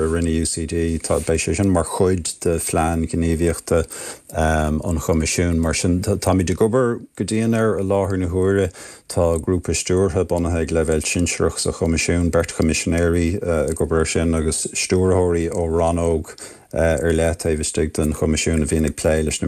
A rinne UCD, tá, beidh sé sin mar chuid de phlean gníomhaíochta an Choimisiúin. Mar sin, táimid ag obair go dian air i láthair na huaire. Tá grúpa stiúrtha bunaithe ag leibhéal sinsearach sa Choimisiún, beirt choimisinéirí ag obair air sin agus stiúrthóirí ó rannóg ar leith taobh istigh den Choimisiún a bhíonn ag plé leis na.